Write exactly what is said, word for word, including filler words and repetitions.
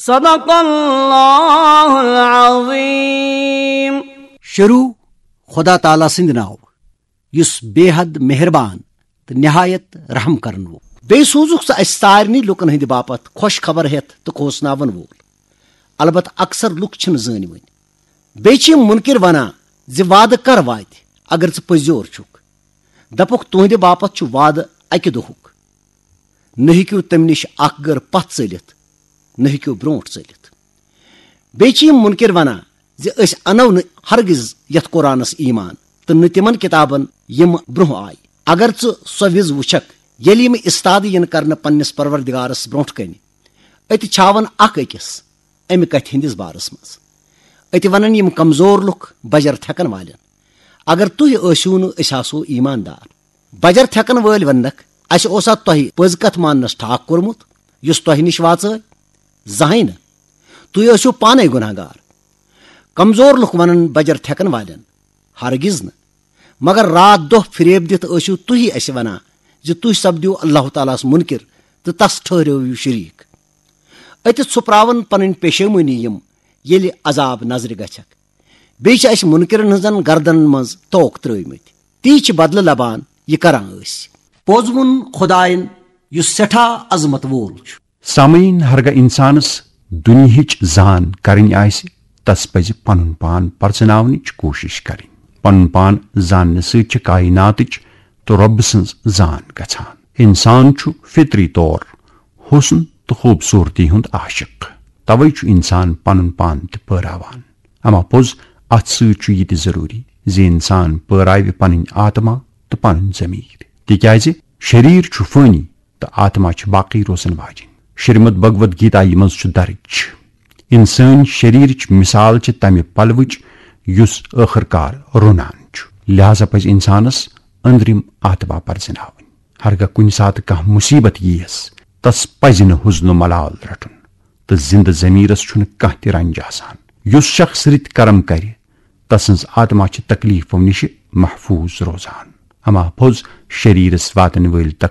صدق اللہ العظیم۔ شروع خدا تعالیٰ سٕنٛدِ ناوٕ، یُس بے حد مہربان تہٕ نہایت رحم کرن وول۔ بیٚیہِ سوٗزُکھ ژٕ اَسہِ سارنٕے لُکن ہٕنٛدِ باپتھ خۄش خبر ہٮ۪تھ تہٕ کھوژناون وول۔ البتہ اکثر لُکھ چھِنہٕ زٲنۍ وٕنۍ۔ بیٚیہِ چھِ یِم مُنکِر ونان زِ وعدٕ کر واتہِ، اگر ژٕ پٔزیور چھُکھ؟ دپُکھ، تُہنٛدِ باپتھ چھُ وعدٕ اکہِ دۄہُک۔ نہ ہیٚکِو تمہِ نِش اکھ گٔر پتھ ژٔلِتھ، نہ ہیٚکِو برونٛٹھ ژٔلِتھ۔ بیٚیہِ چھِ یِم مُنکِر ونان زِ أسۍ انو نہٕ ہرگز یتھ قرآنس ایمان تہٕ نہٕ تِمن کتابن یِم برونٛہہ آیہِ۔ اگر ژٕ سۄ وِز وٕچھکھ، ییٚلہِ یِم استاد یِن کرنہٕ پننِس پروردگارس برونٛٹھ کنہِ، أتہِ چھاون اکھ أکِس امہِ کتھِ ہٕنٛدِس بارس منٛز۔ أتہِ ونن یِم کمزور لُکھ بجر تھٮ۪کن والٮ۪ن، اگر تُہۍ ٲسِو نہٕ، أسۍ آسو ایماندار۔ بجر تھٮ۪کن وٲلۍ وننکھ، اسہِ اوسا تۄہہِ پٔز کتھ ماننس ٹھاکھ کوٚرمُت، یُس تۄہہِ نِش واژٲے؟ زہنۍ نہٕ۔ تُہۍ ٲسِو پانے گناہگار۔ کمزور لُکھ ونن بجر تھٮ۪کن والٮ۪ن، ہرگز نہٕ۔ مگر راتھ دۄہ فریب دِتھ ٲسِو تُہی اسہِ ونان زِ تُہۍ سپدِو اللہ تعالیٰ ہس منکر تہٕ تس ٹھہرٲوِو شریک۔ أتہِ ژھُپراون پنٕنۍ پیشیمٲنی یِم، ییٚلہِ عذاب نظرِ گژھکھ۔ بیٚیہِ چھِ اسہِ منکرن ہٕنٛزن گردنن منٛز توک ترٲومٕتۍ۔ تی چھِ بدلہٕ لبان، یہِ کران ٲسۍ۔ پوٚز ووٚن خداین، یُس سٮ۪ٹھاہ عظمت وول چھُ۔ سامعین، ہرگاہ انسانس دنیاہٕچ زان کرٕنۍ آسہِ، تس پزِ پنُن پان پرزناونٕچ کوٗشش کرٕنۍ۔ پنُن پان زاننہٕ سۭتۍ چھِ کائناتٕچ تہٕ رۄبہٕ سٕنٛز زان گژھان۔ انسان چھُ فطری طور حسن تہٕ خوبصورتی ہُنٛد عاشق۔ توے چھُ انسان پنُن پان تہِ پٲراوان۔ اما پوٚز، اتھ سۭتۍ چھُ یہِ تہِ ضروری زِ انسان پٲراوِ پنٕنۍ آتما تہٕ پنُن ضمیر، تِکیازِ شریر چھُ فٲنی تہٕ آتما چھِ باقی روزن واجِنۍ۔ شریمد بھگوت گیتایہِ منٛز چھُ درج، انسٲنۍ شریرٕچ مثال چھِ تمہِ پلوٕچ یُس ٲخٕر کار رُنان چھُ۔ لہذا پزِ انسانس أنٛدرِم آتما پرزناوٕنۍ۔ ہرگاہ کُنہِ ساتہٕ کانٛہہ مصیبت ییس، تس پزِ نہٕ حزن و ملال رٹُن۔ تہٕ زندٕ ضمیرس چھُنہٕ کانٛہہ تہِ رنج آسان۔ یُس شخص رٕتۍ کرم کرِ، تسٕنز آتما چھِ تکلیفو نِشہِ محفوظ روزان۔ اما پوٚز، شریرس واتن وٲلۍ تکلیف